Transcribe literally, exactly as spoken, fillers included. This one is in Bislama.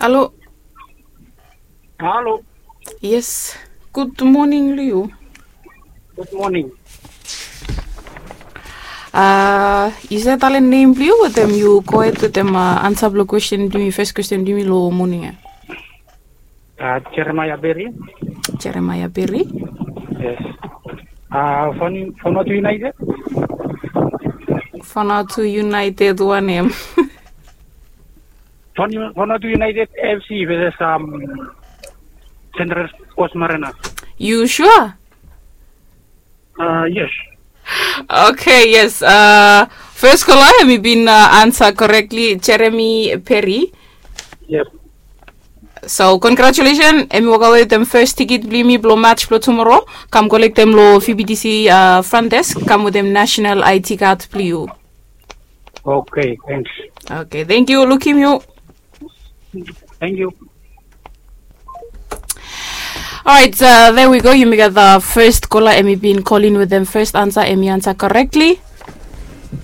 Halo. Halo. Yes. Gud moning long yu. Gud moning. A, yu save talem nem blong yu wetem yu gohed wetem ansa blong kwesten blong yumi, fes kwesten blong yumi long moning ya? Jeremaia Beri. Jeremaia Beri. Yes. Vanuatu United. Vanuatu United wanem? Vanuatu United FC veses Central Coast Mariners. Yu sua? Yes. Oke, yes. Fes kola em i bin ansa korekli, Jeremi Peri. Yes. So, congratulation, em i wakawe wetem fes tikit blong yumi blong mats blong tumoro. Kam kolektem long V B T C front desk, kam wetem national I D card blong yu. Oke, thanks. Oke, thank yu, lukim yu. Thank yu. Alright, there we go. Yumi gat the first kola, em i bin kolin wetem fes ansa, em i ansa korekli.